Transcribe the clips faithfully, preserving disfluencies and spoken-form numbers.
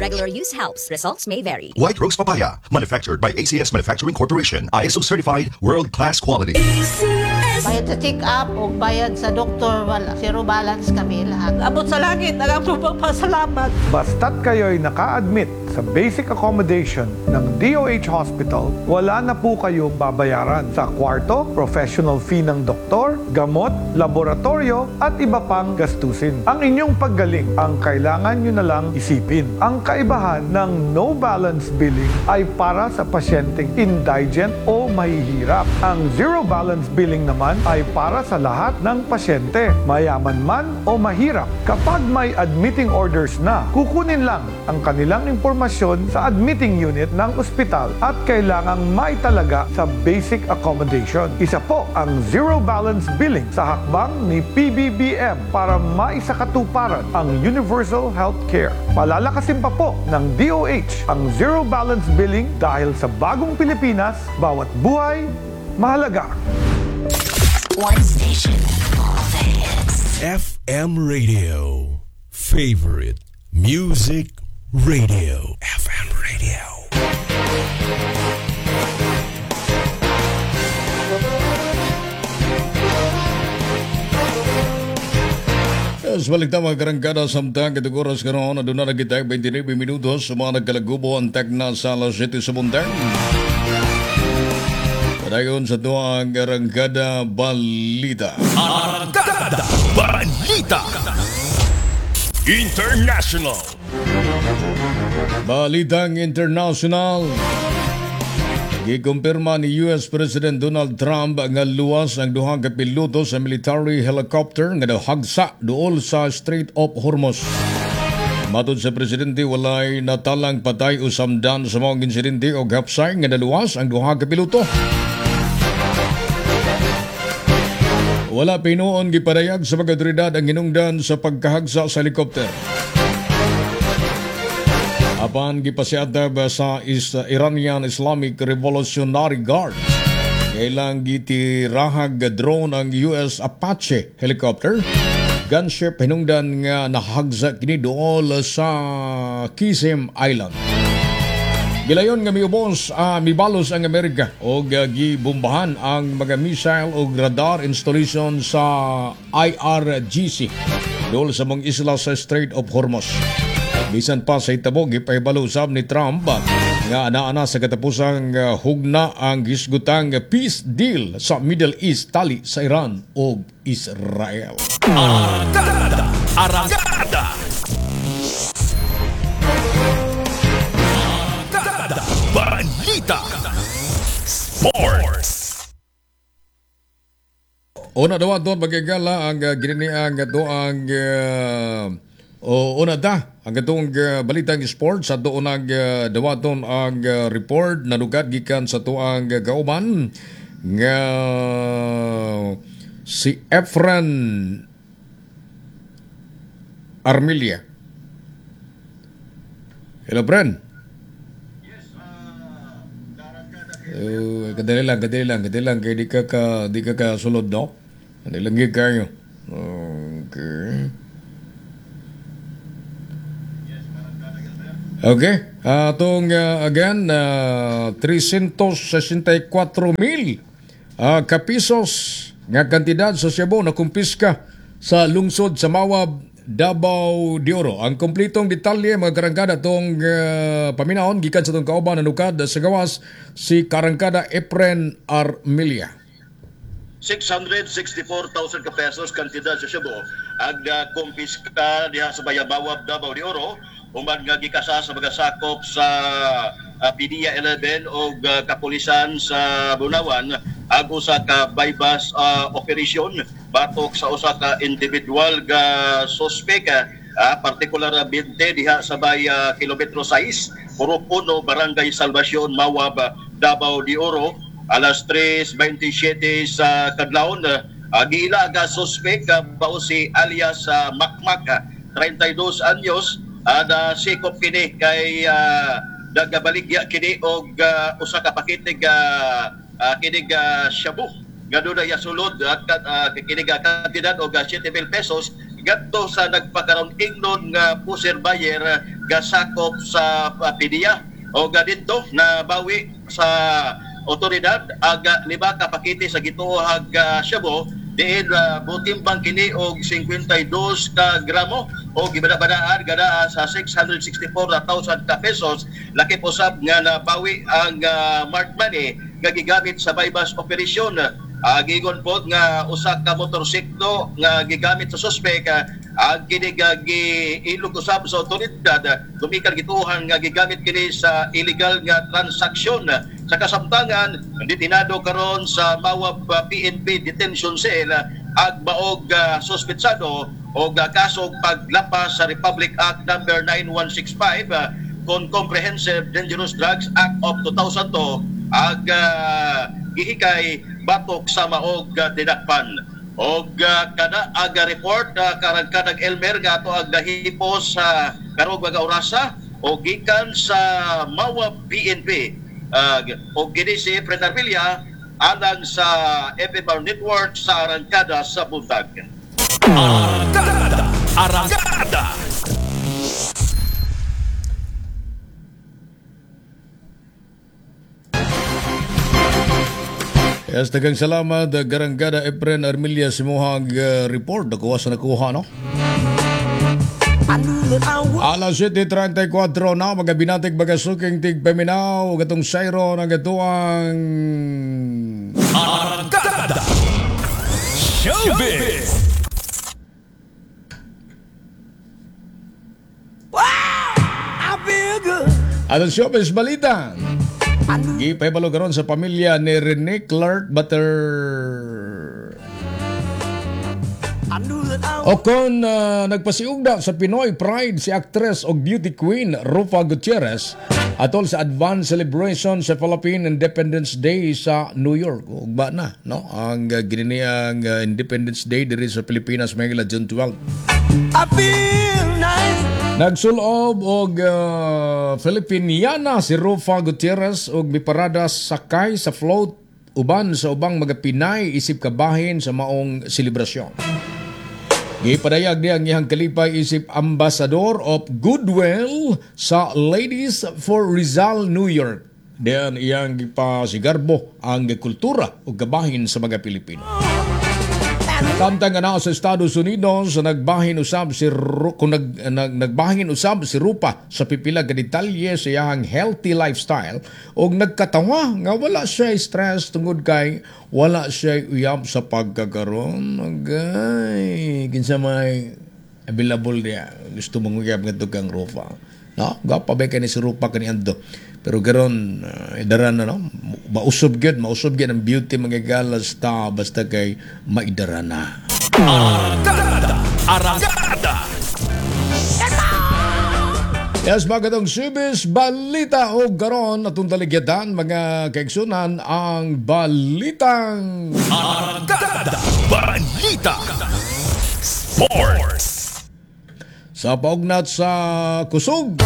Regular use helps. Results may vary. White Rose Papaya, manufactured by A C S Manufacturing Corporation, I S O certified, world-class quality. Bayad sa check-up o bayad sa doktor, wala. Zero balance kami lahat. Abot sa langit ang among pagpasalamat. Basta't kayo'y naka-admit sa basic accommodation ng D O H Hospital, wala na po kayong babayaran sa kwarto, professional fee ng doktor, gamot, laboratorio at iba pang gastusin. Ang inyong paggaling ang kailangan nyo na lang isipin. Ang kaibahan ng no balance billing ay para sa pasyenteng indigent o mahihirap. Ang zero balance billing naman ay para sa lahat ng pasyente, mayaman man o mahirap. Kapag may admitting orders na, kukunin lang ang kanilang impormasyon sa admitting unit ng ospital at kailangang maitalaga sa basic accommodation. Isa po ang zero balance billing sa hakbang ni P B B M para maisakatuparan ang universal health care. Palalakasin pa po ng D O H ang zero balance billing dahil sa bagong Pilipinas, bawat buhay mahalaga. One station, all the hits. F M Radio. Favorite Music Radio. F M Radio. Yes, balik ta, mga karangkada, samtang katong oras karon aduna na kita twenty-nine minutos sa mga nagkalagubo ang tagna sa alas siyete sa buntag. Padayon sa tuang Arangkada Balita. Arangkada Balita International. Balitang International. Gikumpirma ni U S President Donald Trump nga luwas ang duha ka piloto sa military helicopter nga nahagsa duol sa Strait of Hormuz. Matod sa presidente, walay natalang patay o samdan sa mga insidente o hapsay nga naluwas ang duha ka piloto. Wala pinuon gipadayag sa mga otoridad ang hinungdan sa pagkahagsa sa helicopter. Apan gipasiatab sa is Iranian Islamic Revolutionary Guard kailang gitirahag drone ang U S Apache helicopter gunship hinungdan nga nahagsa kini duol sa Qeshm Island. Gilayon nga miubos, uh, mibalos ang Amerika og uh, gibombahan ang mga missile og radar installation sa I R G C duol sa mga isla sa Strait of Hormuz. Bisan pa sa hitabo, gipahibalo usab ni Trump nga ana-ana sa katapusang uh, hugna ang gisgutang peace deal sa Middle East tali sa Iran ug Israel. Arangkada! Arangkada! Arangkada! Balita! Sports! Una daw ato magigala ang uh, gininiang ato ang uh, o una ta ang atong uh, balitang sports sa doon ang uh, dawaton ang uh, report na lugad gikan sa tuang uh, kauban nga si Efren Armilia. Hello, Fren. Uh, kadali lang, kadali lang, kadali lang kay di ka ka di ka ka sulod, no? Kadali lang gyud kayo. Okay. Okay, atong uh, again uh, three hundred sixty-four mil uh, kapisos nga kantidad sa shabu na kumpiska sa lungsod sa Mawab, Davao de Oro. Ang kompletong detalye, mga karangkada, atong uh, paminahon gikan sa atong kauban na nukad sa gawas, si Karangkada Efren Armilia. six hundred sixty-four thousand ka pesos kantidad sa shabu ang uh, kumpiska diha sa Bayabawab, Davao de Oro, human nga gikasa sa mga sakop sa uh, P D I A eleven o uh, kapulisan sa Bunawan ang usa ka bypass uh, operation batok sa usa ka individual ga suspect, uh, partikular binte diha sa bay uh, kilometro sais, Purok one, Barangay Salvacion, Mawab, Davao de Oro alas tres twenty-seven sa kadlawon. Uh, giila ga suspect uh, bao si alias uh, Makmak, uh, treinta y dos anyos, uh, na sikop kini kay uh, nagabaligya kini og uh, usa ka pakete ga uh, kini ga shabu nga dunay sulod at uh, kini ga kantidad og uh, seven mil pesos ngadto sa nagpakaron ingnon nga pusher buyer gasakop sa uh, P D I A. O didto na bawi sa otoridad ag uh, lima ka pakete sa gituohag uh, shabu diin uh, butimbang kini og singkwenta y dos ka gramo o gibada-badaan gadaa sa six hundred sixty-four thousand ka pesos. Lakip usab nga nabawi ang uh, marked money nga gigamit sa buy-bust operation. Uh, giingon pod nga usa ka motorsiklo nga gigamit sa suspect uh, ang kini nga giilog usab sa otoridad gumikan gituohan nga gigamit kini sa illegal nga transaksyon. Sa kasamtangan, detinado karon sa Mawab uh, P N P detention cell uh, ag maog uh, suspetsado og uh, kaso paglapas sa Republic Act Number nine one six five uh, kon Comprehensive Dangerous Drugs Act of two thousand two ag uh, gihikay batok sa maog uh, dinakpan. Og uh, kada ag report uh, karagkadag Elmer nga ato ag nahipos sa uh, karong mga orasa o gikan sa Mawab P N P, uh, og kini si Efren Armilla alang sa F M R Network sa Arangkada sa Buntag. Arangkada! Arangkada! Yes, daghang salamat, uh, Garangada Efren Armilia, sa imuhang uh, report. Nakuha sa nakuha, no? Alas siyete trentay kwatro na, mga binatik, mga suking tigpaminaw, gatong sayro ng gatuang Arangkada! Showbiz! I feel good. Atong showbiz balita. Gipahibalo karon sa pamilya ni Rene Clark Butter o kon uh, nagpasiugda sa Pinoy Pride si actress og beauty queen Ruffa Gutierrez atol sa advance celebration sa Philippine Independence Day sa New York. Ugba na, no? Ang uh, gininiang uh, Independence Day diri sa Pilipinas may June twelve. I feel nice. Nagsulob og uh, Filipiniana si Ruffa Gutierrez og miparada sakay sa float uban sa ubang mga Pinay isip kabahin sa maong selebrasyon. Gipadayag niya ang iyang kalipay isip Ambassador of Goodwill sa Ladies for Rizal, New York. Diyan iyang gipasigarbo ang kultura ug kabahin sa mga Pilipino. Samtang nga sa Estados Unidos, nagbahin usab si Ru- kung nag, nag, nagbahin usab si Ruffa sa pipila ka detalye sa iyang healthy lifestyle ug nagkatawa nga wala siya stress tungod kay wala siya uyab sa pagkakaroon. Agay, kinsa may available niya gusto mong uyab ngadto kang Ruffa, no? Gwapa ba kani si Ruffa kani ando, pero karon uh, idaran na, no? Mausob gyud, mausob gyud ang beauty, mga galas ta, basta kay maidara na. Arangkada! Arangkada! Yes, magatong showbiz balita o garon atong taligyatan, mga kaigsunan, ang balitang Arangkada! Balita! Sports! Sa paugnat sa kusog.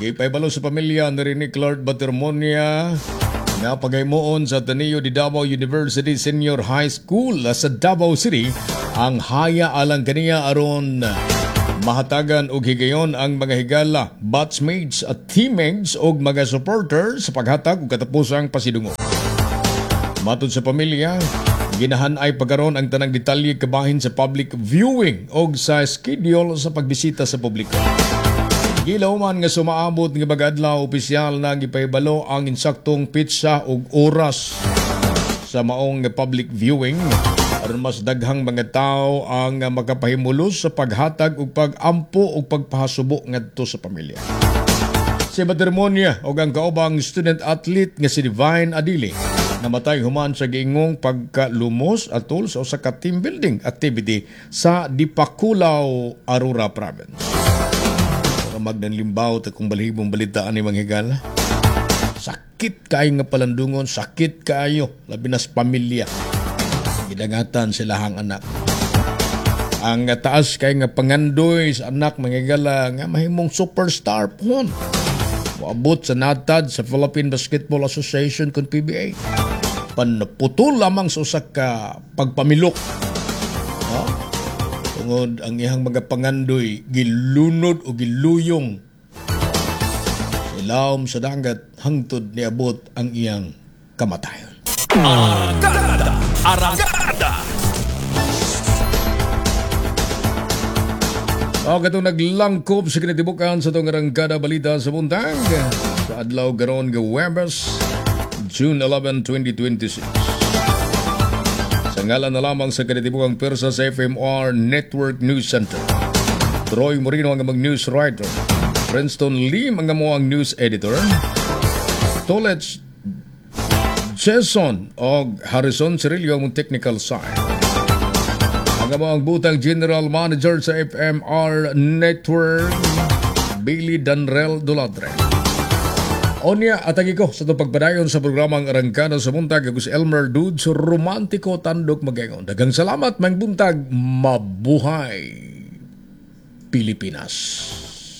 Gipaybalo sa pamilya ni Rene Clark Batermonia nga pagaymoon sa Ateneo de Davao University Senior High School sa Davao City ang haya alang kaniya aron mahatagan og higayon ang mga higala, batchmates at teammates og mga supporters sa paghatag og katapusang pasidungog. Matod sa pamilya, ginahan ay pagkaron ang tanang detalye kabahin sa public viewing og sa schedule sa pagbisita sa publiko. Gilawman nga sumaabot nga bagadlaw opisyal na gipahibalo ang insaktong petsa ug oras sa maong public viewing aron mas daghang mga tao ang makapahimulos sa paghatag ug pag-ampo ug pagpahasubo ngadto sa pamilya. Si Batermonia ug ang kaubang student athlete nga si Divine Adili namatay human sa giingong pagkalumos atol sa usa ka team building activity sa Dipaculao, Aurora Province. Magnanlimbaw ta kung balhibong balitaan ni mga higala. Sakit kaayo nga palandungon, sakit kaayo, labi na sa pamilya. Gidangatan sila ang anak. Ang taas kay nga pangandoy sa anak, mga higala, nga mahimong superstar pohon. Moabot sa natad sa Philippine Basketball Association kun P B A. Panputol lamang sa usa ka pagpamilok. No? Tungod Tungod ang iyang mga pangandoy gilunod o giluyong sa ilawom sa dagat hangtod niabot ang iyang kamatayon. Arangkada! Arangkada! O katong naglangkob sa kinatibukan sa itong arangkada balita sa buntag sa adlaw karon nga Huwebes, June eleven, twenty twenty-six. Sa ngalan na lamang sa kinatibukang persa sa F M R Network News Center. Troy Moreno ang among news writer. Princeton Lim ang among news editor. Tolets Jason og Harrison Cirillo ang technical side. Ang among butang general manager sa F M R Network, Billy Danrel Doladre. Onya, atagi ko sa itong pagpadayon sa programang Arangkada sa Buntag. Ako si Elmer Dudes, Romantiko Tandok Magengon. Daghang salamat, maayong buntag, mabuhay Pilipinas.